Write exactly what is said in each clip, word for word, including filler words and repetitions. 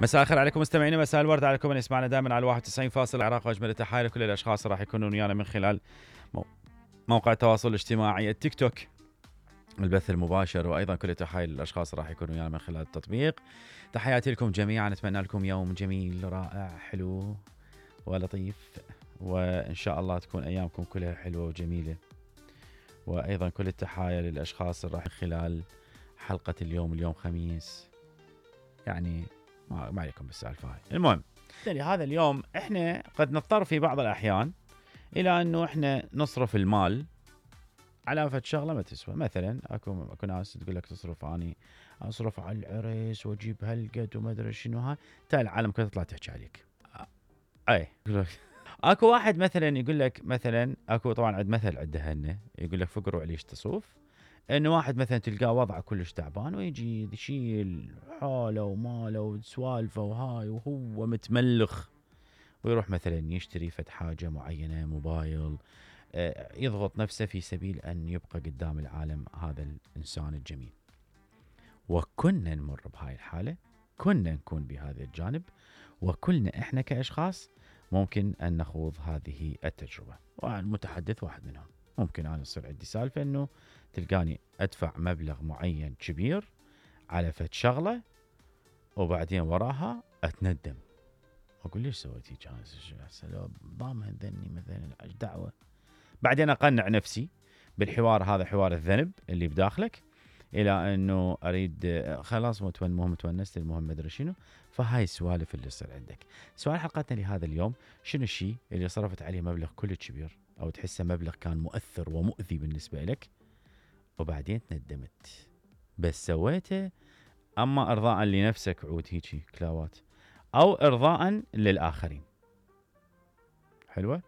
مساء الخير عليكم مستمعينا، مساء الورد عليكم من يسمعنا دائما على واحد وتسعين فاصلة العراق واجمل التحايا لكل الاشخاص راح يكونون ويانا من خلال موقع التواصل الاجتماعي التيك توك البث المباشر، وايضا كل التحايا للاشخاص راح يكونوا ويانا من خلال التطبيق. تحياتي لكم جميعا، اتمنى لكم يوم جميل رائع حلو ولطيف، وان شاء الله تكون ايامكم كلها حلوه وجميله. وايضا كل التحايا للاشخاص اللي راح خلال حلقه اليوم اليوم خميس، يعني ما, ما عليكم بالسالفه هاي. المهم لهذا اليوم احنا قد نضطر في بعض الاحيان الى انه احنا نصرف المال على فد شغله ما تسوى. مثلا اكو اكو ناس تقول لك تصرف اني اصرف على العرس واجيب هالقد وما ادري شنو هاي، تا العالم كلها تطلع تحكي عليك. اي اكو واحد مثلا يقول لك، مثلا اكو طبعا عند مثل عنده هنه يقول لك فقر وعليش تصوف، انه واحد مثلا تلقاه وضعه كلش تعبان ويجي يشيل حاله وماله وسوالفه وهاي وهو متملخ، ويروح مثلا يشتري فد حاجه معينه، موبايل، يضغط نفسه في سبيل ان يبقى قدام العالم هذا الانسان الجميل. وكنا نمر بهاي الحاله، كنا نكون بهذا الجانب، وكلنا احنا كاشخاص ممكن ان نخوض هذه التجربه. والمتحدث واحد منهم. ممكن انا يصير عندي سالفه انه تلقاني ادفع مبلغ معين كبير على فد شغله، وبعدين وراها اتندم، اقول ليش سويت هيك؟ انا ضامن ذني مثلا ايش دعوه. بعدين اقنع نفسي بالحوار هذا، حوار الذنب اللي بداخلك، الى انه اريد خلاص المهم تونست، المهم ما ادري شنو. فهاي السوالف اللي تصير عندك. سؤال حلقتنا لهذا اليوم، شنو الشيء اللي صرفت عليه مبلغ كلش كبير او تحسه مبلغ كان مؤثر ومؤذي بالنسبه لك، وبعدين تندمت بس سويته اما ارضاء لنفسك عود هيجي كلاوات، او ارضاء للاخرين؟ حلوه.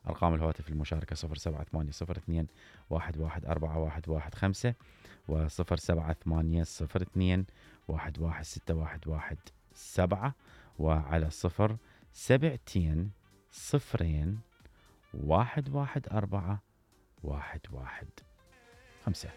أرقام الهواتف المشاركة صفر سبعة ثمانية صفر اثنين واحد واحد أربعة واحد واحد خمسة وصفر سبعة ثمانية صفر اثنين واحد واحد ستة واحد واحد سبعة، وعلى صفر سبعتين صفرين واحد واحد أربعة واحد واحد خمسة.